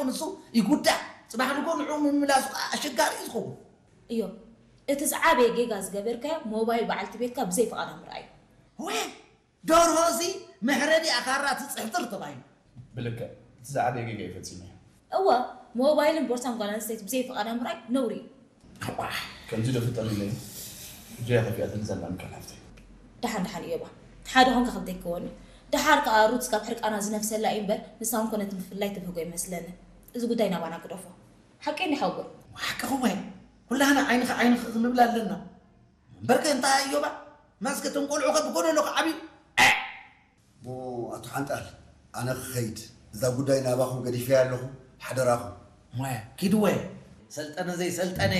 ንሱ ይጉዳእ። ጽባሕ ንጎ ንዕኡ ምምላሱ ከዓ ኣሸጋሪ እዩ ዝኸውን። እዮ፣ እቲ ዝዓበየ ጌጋ ዝገበርካዮ ሞባይል በዓልቲ ቤትካ ብዘይ ፍቓዳ ምርኣይ። ወ ደርሆ እዚ መሕረዲ ኣኻራ ትፅሕትር ተባሂሉ። ብልክዕ እቲ ዝዓበየ ጌጋ እዩ ፈፂመ። እወ፣ ሞባይልን ቦርሳን ጓል ኣንስተይቲ ብዘይ ፍቓዳ ምርኣይ ነውሪ እዩ። ዋሕ፣ ከምዚ ዶ ፍጠር ኢለ እየ። እጆያ ከፊኣትኒ ዘላ ምካል ሃፍተይ። ደሓን ደሓን እዮባ፣ ሓደ ኮንካ ክብደይ ክወኒ። ደሓር ከዓ ሩት ካብ ሕርቃና ዝነፍሰላ እዩ እምበር፣ ንሳ እውን ኮነት ምፍላይ ትብህጎ ይመስለኒ። እዚ ጉዳይ ናባና ግደፎ። ሓቀይ እንዲ ሓወቦይ። ሓቅኺ ወይ ኩላህና ዓይንኺ ዓይንኺ ክንብል ኣለና። እምበርከ እንታይ እዮባ፣ መስከ እቶም ቆልዑ ከ ብጎደሎ ክዓብዩ። እሞ ኣቶ ሓንጣል፣ ኣነ ክኸይድ፣ እዛ ጉዳይ ናባኹም ገዲፈያ ኣለኹ። ሓደራኹም። ሞያ ኪድ ወይ ሰልጠነ ዘይሰልጠነ።